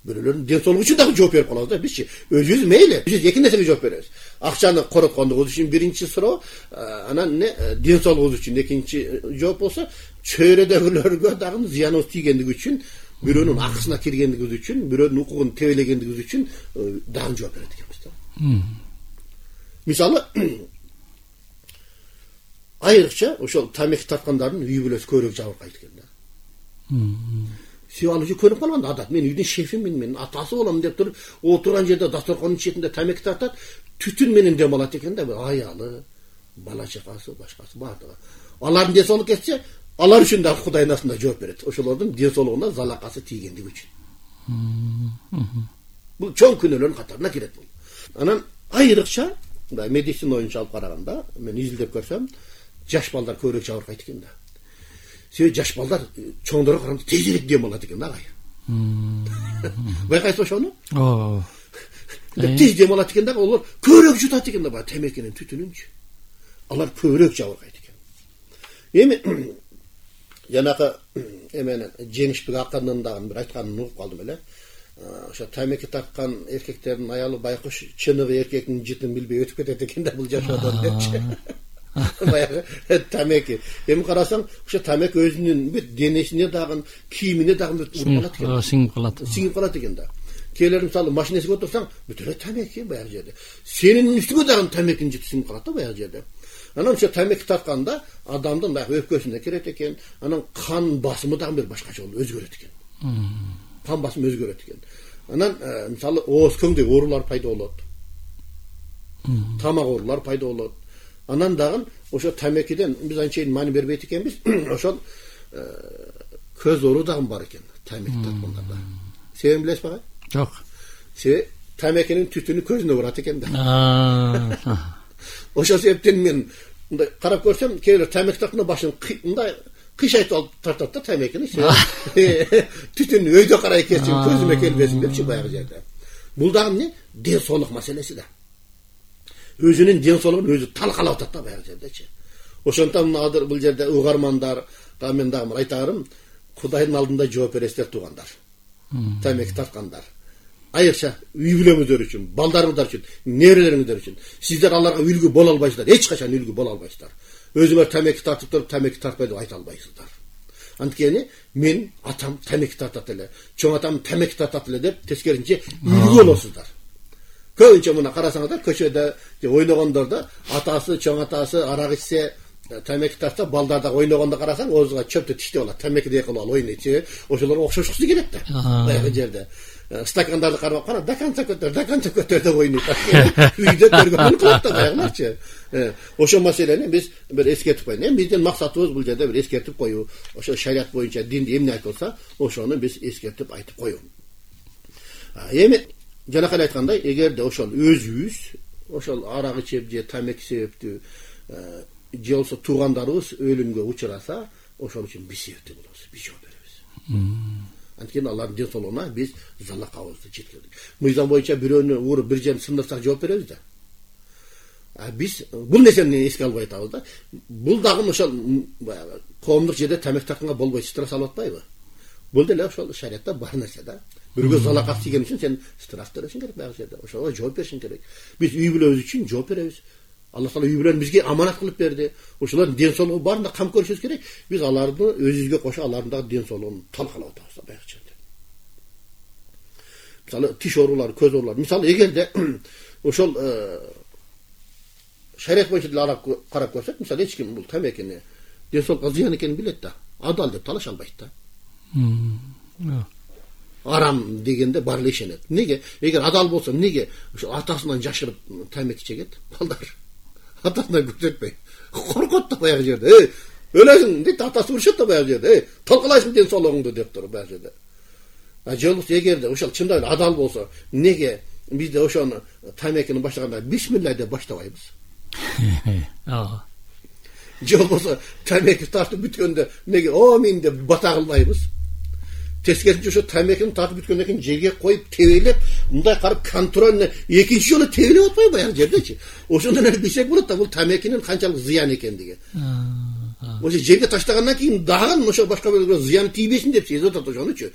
бирөөлөрдүн ден соолугу үчүн дагы жооп берип калабыз да бизчи. Өзүбүз мейли, биз эки нерсеге жооп беребиз. Акчаны короткондугубуз үчүн биринчи суроо, анан ден соолугубуз үчүн экинчи жооп болсо, чөйрөдөгүлөргө дагы зыяныбыз тийгендиги үчүн, бирөөнүн акысына киргендигибиз үчүн, бирөөнүн укугун тебелегендигибиз үчүн дагы жооп берет экенбиз да. Мисалы, айрыкча ошол тамеки тарткандардын үй бүлөсү көбүрөөк жабыркайт экен да. Сен ал уже көрүп калган адат. Мен үйдүн шефимин, мен атасы болом деп туруп, отурган жерде дасторконун четинде тамеки тартат, түтүн менен дем алат экен да, аялы, бала чакасы, башкасы бардыгы. Алардын ден соолугу кетсе, алар үчүн дагы Кудайдын астында жооп берет. Ошолордун ден соолугуна залакасы тийгендиги үчүн. Бул чоң күнөөлөрдүн катарына кирет бул. Анан айрыкча медицина боюнча алып караганда, мен изилдеп көрсөм, жаш балдар көбүрөөк жабыркайт экен да. Себеби жаш балдар чоңдорго караганда тезирээк дем алат экен да агай. Байкайсыз ошону? Тез дем алат экен да, олар көбүрөөк жутат экен да, баягы темекинин түтүнүнчү. Алар көбүрөөк жабыркайт экен. Эми жанагы эмени Жеңишбек акындын дагы бир айтканын угуп калдым эле. Ошо тамеки тарткан эркектердин аялы байкуш чыныгы эркектин жытын билбей өтүп кетет экен да бул жашоодон депчи. Баягы тамеки. Эми карасаң, ошо тамеки өзүнүн бүт денесине дагы, кийимине дагы уруп калат экен. Сиңип калат экен да. Келер мисалы машинесине отурсаң, бүт эле тамеки баягы жерде. Сенин үстүңө дагы тамекинин жыты сиңип калат да баягы жерде. Анан ошо тамеки тартканда адамдын баягы өпкөсүнө кирет экен, анан кан басымы дагы бир башкача болуп өзгөрөт экен. Кан басымы өзгөрөт экен. Анан мисалы ооз көңдөй оорулар пайда болот. Тамак оорулар пайда болот. Анан дагы ошо тамекиден биз анчейин маани бербейт экенбиз. Ошол көз оору дагы бар экен тамеки тарткандарда. Себебин билесиз агай? Жок. Себеби тамекинин түтүнү көзүнө барат экен да. Ошол себептен мен мындай карап көрсөм, кейбир тамеки тартканда башын мындай кыйшайтып алып тартат да тамекини. Түтүн өйдө карай кетсин, көзүмө келбесин депчи баягы жерде. Бул дагы эмне? Ден соолук маселеси да. Өзүнүн ден соолугун өзү талкалап атат да баягы жердечи. Ошондон азыр бул жерде угармандар, мен дагы айтарым, Кудайдын алдында жооп бересиздер туугандар. Тамеки тарткандар. Айрыкча үй бүлөңүздөр үчүн, балдарыңыздар үчүн, нерелериңиздер үчүн. Сиздер аларга үлгү боло албайсыздар, эч качан үлгү боло албайсыздар. Өзүңөр тамеки тартып туруп, тамеки тартпай деп айта албайсыздар. Анткени мен атам тамеки тартат эле, чоң атам тамеки тартат эле деп тескеринче үлгү болосуздар. Көбүнчө мына карасаңыздар, көчөдө ойногондордо атасы, чоң атасы арак ичсе, тамеки тартса, балдар да ойногондо карасаң, оозуна чөптү тиштеп алат, тамеки кылып алып ойнойт. Ошолорго окшошкусу келет да. Баягы жерде стакандарды карап кана, даканча көтөр деп ойнойт. Үйдө көргөнүн кылат да баягыларчы. Ошол маселени биз бир эскертип коелу. Эми биздин максатыбыз бул жерде бир эскертип коюу. Ошо шарият боюнча динде эмне айтылса, ошону биз эскертип айтып коюу. Эми жанакы айткандай, эгерде ошол өзүбүз ошол арак ичип же тамеки себептүү же болсо туугандарыбыз өлүмгө учураса, ошол үчүн биз себептүү болобуз, биз жооп беребиз. Анткени алардын ден соолугуна биз залакабызды жеткирдик. Мыйзам боюнча бирөөнү уруп бир жерин сындырсак жооп беребиз да. Биз бул нерсени эске албай атабыз да. Бул дагы ошол баягы коомдук жерде тамеки тартканга болбойт, штраф салып атпайбы? Бул деле ошол шариятта бар нерсе да. Бирөөгө залакат тийген үчүн сен штраф төлөшүң керек баягы жерде. Ошого жооп беришиң керек. Биз үй бүлөбүз үчүн жооп беребиз. Алла Таала үй бүлөнү бизге аманат кылып берди. Ошолордун ден соолугу баарында кам көрүшүбүз керек. Биз аларды өзүбүзгө кошо алардын дагы ден соолугун талкалап атабыз да баягы жерде. Мисалы тиш оорулары, көз оорулары. Мисалы эгерде ошол шарият боюнча деле карап көрсөк, мисалы эч ким бул тамекини ден соолукка зыян экенин билет да. Адал деп талаша албайт да. Арам дегенде бар эле ишенет. Неге? Эгер адал болсо, эмнеге ошо атасынан жашырып тамеки чегет? Балдар атасынан көрсөтпөй. Коркот да баягы жерде. Өлөсүң дейт, атасы урушат да баягы жерде. Талкалайсың ден соолугуңду деп туруп баягы жерде. Жолубуз эгерде ошол чындап эле адал болсо, эмнеге бизде ошону тамекини баштаганда бисмилла деп баштабайбыз? Же болбосо тамеки тартып бүткөндө эмнеге амин деп бата кылбайбыз? Тескерисинче ошо тамекини тартып бүткөндөн кийин жерге коюп тебелеп, мындай карап контрольно экинчи жолу тебелеп атпайбы баягы жердечи? Ошондон эле билсек болот да, бул тамекинин канчалык зыян экендиги. Ошо жерге таштагандан кийин дагы ошо башка бирөөгө зыян тийбесин деп сезип атат ошонучу.